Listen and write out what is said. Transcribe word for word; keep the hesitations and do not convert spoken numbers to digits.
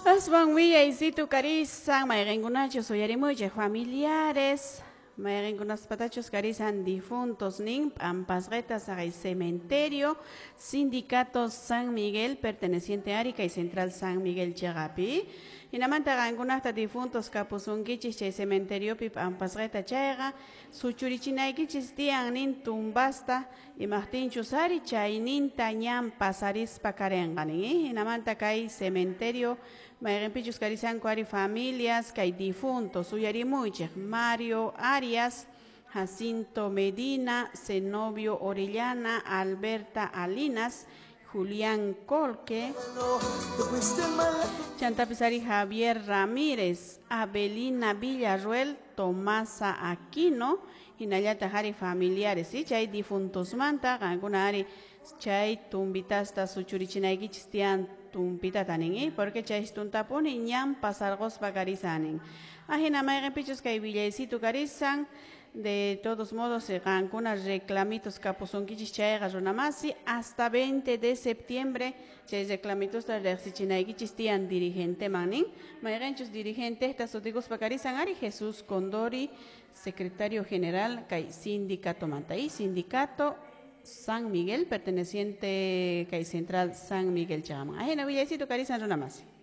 Aswan willaysitu karisan mayqinkunachus uyarimuychik familiares mayqinkunaspatachus karisan difuntos nin p'ampasqita saqay cementerio Sindicato San Miguel perteneciente a Arica y Central San Miguel chiqapi hinamanta qankunaqta difuntos kapusunkichis chay cementeriopi p'ampasqita chayqa suchurichinaykichis tiyan nin tumbasta imaqtinchus ari chayninta ñan pasarispa karinqa nin hinamanta kay cementerio mayqinpichus karisanku ari familias kay difuntos uyarimuychik Mario Arias, Jacinto Medina, Zenobio Orellana, Alberta Alinas, Julián Colque, Chantapis ari Javier Ramírez, Abelina Villarruel, Tomasa Aquino, hinallataq ari familiares, ¿sí? Chay difuntosmanta, qankuna ari chay tumbitasta suchurichinaykichis tiyan tumpitata nin, ¿eh? Porque chay tuntapuni ñan pasarquspa karisanin. Ajina mayqinpichus kay willaysitu karisan, de todos modos, qankuna reclamitos kapusunkichis chayqa runamasi hasta veinte de septiembre chay reclamitosta riqsichinaykichis tiyan dirigenteman nin mayqinchus dirigentesta sutikuspa karisan ari Jesús Condori, secretario general kay sindicato manta y sindicato San Miguel perteneciente kay Central San Miguel chaman. Ajina willaysitu karisan runamasi.